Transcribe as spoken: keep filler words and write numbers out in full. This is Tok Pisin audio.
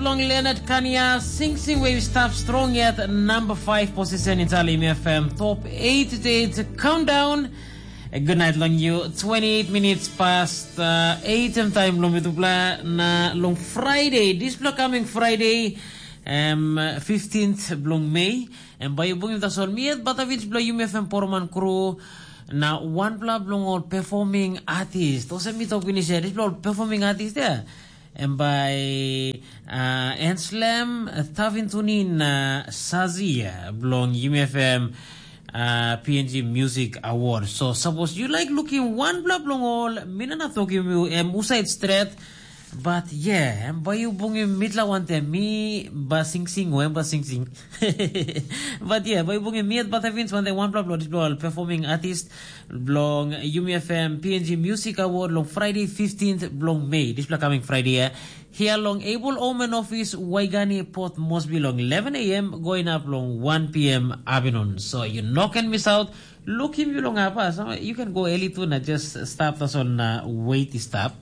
Long Leonard Kania, sing sing wave stap strong yet number five position in Talim F M top eight to eight countdown. A good night long you. Twenty-eight minutes past uh, eight em time long mitupla na long Friday. This block coming Friday, um, fifteenth blong May. And by you bungim tasol mi at Batavich blow you F M Poroman crew. Na one block blong all performing artist. Those are me talk finish. This blow performing artist there. And by uh, Anslem Tavintunin uh, Sazia blong U M F M uh, P N G Music Award. So suppose you like looking one block blong all, mina na talking you em usai straight. But yeah, em bai you bungim mitla wante mi ba sing sing o em ba sing sing. But yeah, bai bungim mi at Batavins wante one block block block performing artist blong U M F M P N G Music Award long Friday fifteenth blong May. This block coming Friday. Yeah. Here long Able Omen Office, Waigani, Port Moresby long eleven a m going up long one p m afternoon. So you no can miss out. Look him you long apa. So you can go early too na just stop us on uh, wait stop.